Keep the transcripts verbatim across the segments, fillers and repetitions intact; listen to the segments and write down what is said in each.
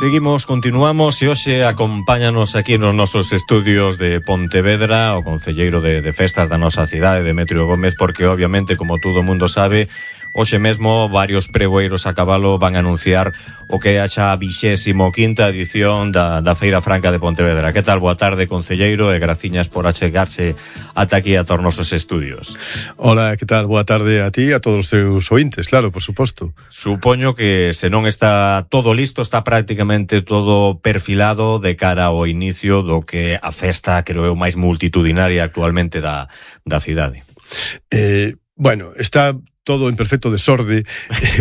Seguimos, continuamos e hoxe acompáñanos aquí nos nosos estudios de Pontevedra o concelleiro de, de festas da nosa cidade, Demetrio Gómez, porque obviamente, como todo o mundo sabe, hoxe mesmo varios pregoeiros a cabalo van a anunciar o que é a xa vixésimo quinta edición da, da Feira Franca de Pontevedra. Que tal? Boa tarde, concelleiro, e graciñas por achegarse ata aquí a todos os nosos estudios. Hola, que tal? Boa tarde a ti e a todos os teus ointes, claro, por suposto. Supoño que se non está todo listo, está prácticamente todo perfilado de cara ao inicio do que a festa, creo eu, máis multitudinaria actualmente da, da cidade. Eh, bueno, está todo en perfecto desorde,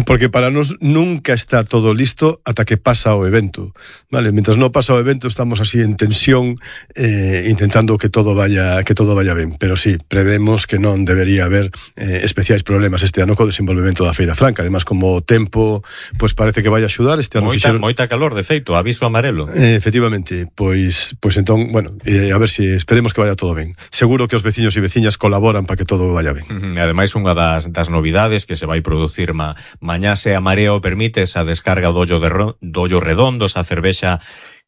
porque para nós nunca está todo listo ata que pasa o evento, vale? Mientras non pasa o evento estamos así en tensión, eh, intentando que todo vaya que todo vaya ben, pero sí, prevemos que non debería haber eh, especiais problemas este ano co desenvolvemento da Feira Franca. Además, como o tempo, pois parece que vai axudar este ano. Moita, fixeron... moita calor, de feito, aviso amarelo. Eh, efectivamente, pois pois entón, bueno, eh, a ver se si esperemos que vaya todo ben. Seguro que os veciños e veciñas colaboran para que todo vaya ben. Uh-huh. E ademais, unha das, das novidades que se vai producir ma, mañá, se a marea o permite, esa descarga do ollo, de, do ollo redondo, esa cervexa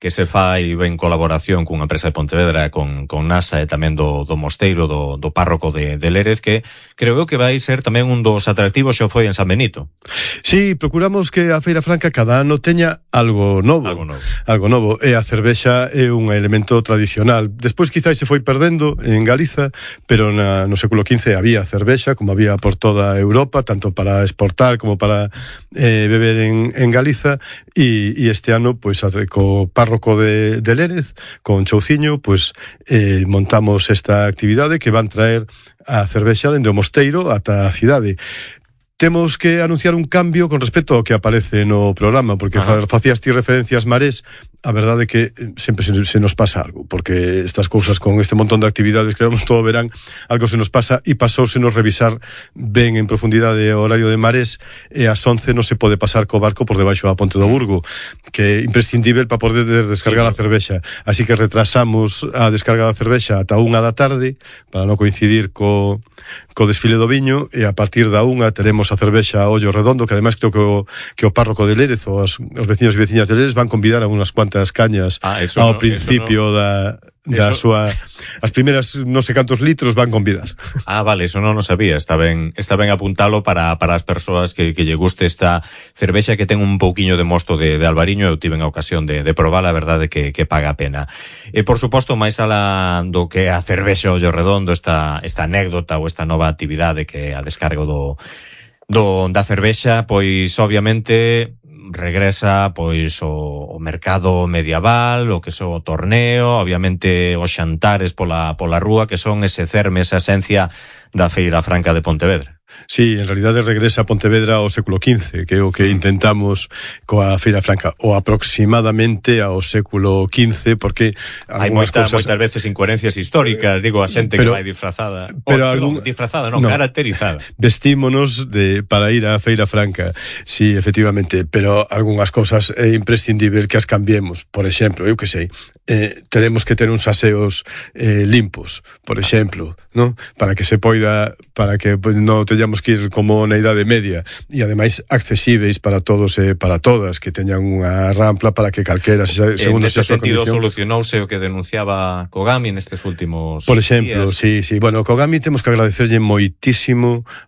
que se fai en colaboración cunha empresa de Pontevedra, con, con NASA e tamén do, do mosteiro, do, do párroco de, de Lérez, que creo eu que vai ser tamén un dos atractivos xo foi en San Benito. Sí, procuramos que a Feira Franca cada ano teña algo novo. Algo novo. Algo novo. E a cervexa é un elemento tradicional. Despois quizás se foi perdendo en Galiza, pero na, no século quince había cervexa, como había por toda Europa, tanto para exportar como para eh, beber en, en Galiza, e, e este ano, pois, co párroco de, de Lérez, con Chouciño, pues eh, montamos esta actividade que van traer a cervexa dende o mosteiro ata a cidade. Temos que anunciar un cambio con respecto ao que aparece no programa, porque Ajá. facías ti referencias Marés. A verdade é que sempre se, se nos pasa algo, porque estas cousas con este montón de actividades que vemos todo o verán, algo se nos pasa, e pasóusenos revisar ben en profundidade o horario de Marés, e ás once non se pode pasar co barco por debaixo da Ponte do Burgo, que é imprescindível para poder descargar sí, a cervexa. Así que retrasamos a descarga da cervexa ata unha da tarde, para non coincidir co, co desfile do viño, e a partir da unha teremos a cervexa a ollo redondo, que ademais creo que o, que o párroco de Lérez, ou os, os veciños e veciñas de Lérez, van convidar a unhas cuantas cañas ah, ao no, principio no, da, da eso... súa... As primeiras non sei cantos litros van convidar. Ah, vale, eso non o sabía. Está ben, está ben apuntalo para, para as persoas que, que lle guste esta cervexa, que ten un pouquiño de mosto de, de albariño. Eu tive a ocasión de, de probar, a verdade que, que paga a pena. E, por suposto, máis alá do que a cervexa ollo redondo, esta, esta anécdota ou esta nova actividade que a descargo do, do, da cervexa, pois, obviamente... regresa pois o, o mercado medieval, o que son o torneo, obviamente os xantares pola, pola rúa, que son ese cerme, esa esencia da Feira Franca de Pontevedra. Sí, en realidade regresa a Pontevedra ao século quince, que é o que intentamos coa Feira Franca, ou aproximadamente ao século quince, porque hai moita, cosas... moitas veces incoherencias históricas, digo, a xente pero, que vai disfrazada, pero oh, algún... perdón, disfrazada, non, no, caracterizada. Vestímonos de, para ir á Feira Franca, sí, efectivamente, pero algunhas cosas é imprescindible que as cambiemos. Por exemplo, eu que sei, eh, teremos que ter uns aseos eh, limpos, por exemplo, ¿no? Para que se poida, para que pues, non teñamos que ir como na idade media, e ademais accesíveis para todos e para todas, que teñan unha rampla para que calquera, segundo se xa sentido solucionouse o que denunciaba Kogami nestes últimos por exemplo, días. sí, sí, bueno, Kogami temos que agradecerlle moitísimo